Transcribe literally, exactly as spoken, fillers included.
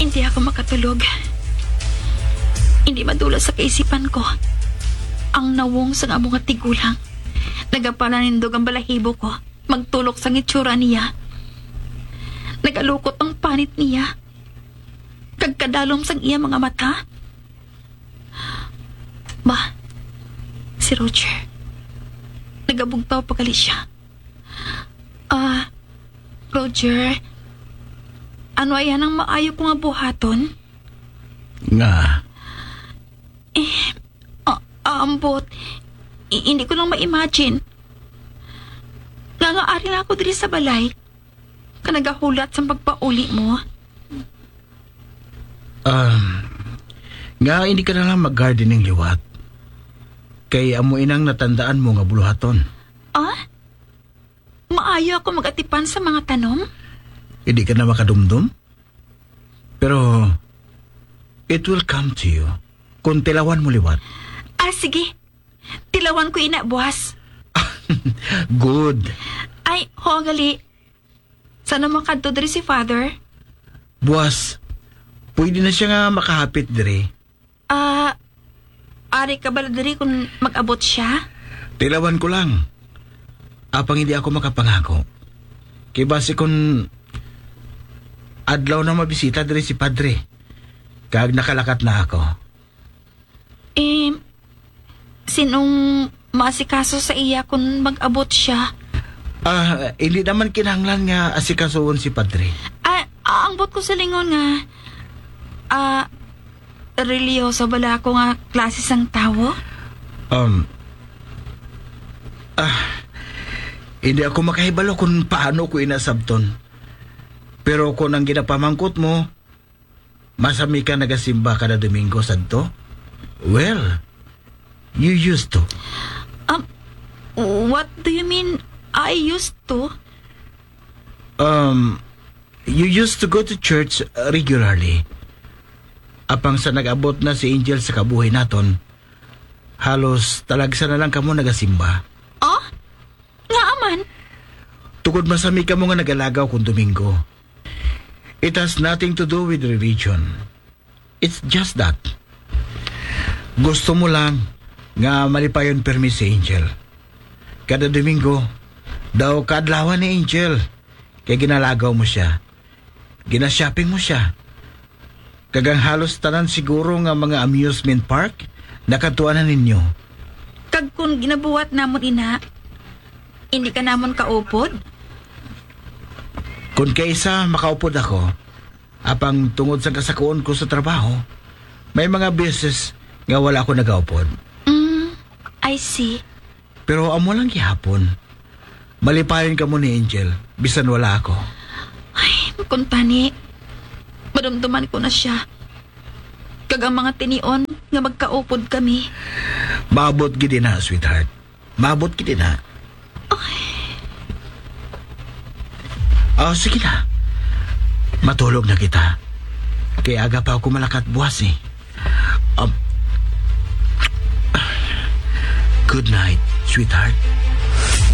Hindi ako makatulog. Hindi madula sa kaisipan ko ang nawong sang amo nga tigulang. Nagapalanindog ang balahibo ko. Magtulok sang itsura niya. Nagalukot ang panit niya. Kag kadalom sang iya mga mata. Ma, si Roger. Nagabugtaw pa gali siya. Ah, Roger, ano ayan ang maayo ko nga buhaton? Nga? Eh, ah, ambot. I- hindi ko lang ma-imagine. Nga nga ari lang ako diri sa balay. Ka nagahulat sang pagpauli mo. Um, nga hindi ka na lang mag-gardening liwat. Kay amo inang natandaan mo nga buluhaton. Ah? Maayo ako mag-atipan sa mga tanom? Hindi ka na makadumdom? Pero it will come to you kung tilawan mo liwat. Ah, sige. Tilawan ko ina, buwas. Good. Ay, ho, gali. Saan mo kadto diri si Father? Buwas, pwede na siya nga makahapit diri. Ah, ari ka bala diri kung mag-abot siya? Tilawan ko lang. Apang hindi ako makapangako. Kay basi kung adlaw na mabisita diri si Padre, kag nakalakat na ako. Eh, sinong maasikaso sa iya kung mag-abot siya? Ah, hindi naman kinahanglan nga asikasoon si Padre. Ah, ang buot ko sa lingon nga, ah, reliyoso bala ako nga klase sang tawo? Um, ah, hindi ako makahibalo kung paano ko inasabton. Pero kung ang ginapamangkot mo, masami ka nagasimba kada Domingo sadto? Well, you used to. Um, what do you mean, I used to? Um, you used to go to church regularly. Apang sa nag-abot na si Angel sa kabuhi naton, halos talagsa na lang kamo nagasimba. Oh? Ngaa man? Tungod masami kamo nga nagalagaw kung Domingo. It has nothing to do with religion. It's just that gusto mo lang nga malipayon permi si Angel. Kada Domingo, daw kaadlawan ni Angel, kay ginalagaw mo siya. Gina-shopping mo siya. Kag ang halos tanan siguro nga mga amusement park, nakadtuan na ninyo. Kag kung ginabuhat namon ina, hindi ka namon kaupod? Kung kaisa, makaupod ako. Apang tungod sa kasakuon ko sa trabaho, may mga beses nga wala ako nagaupod. Mm, I see. Pero amo lang gihapon. Malipayon kamo ni Angel, bisan wala ako. Ay, kung tani, madumduman ko na siya. Kag ang mga tinion nga magkaupod kami. Maabot gid na, sweetheart. Maabot gid na. Ay. Oh, sige na. Matulog na kita. Kay aga pa ako malakat buwas eh. Um, good night, sweetheart.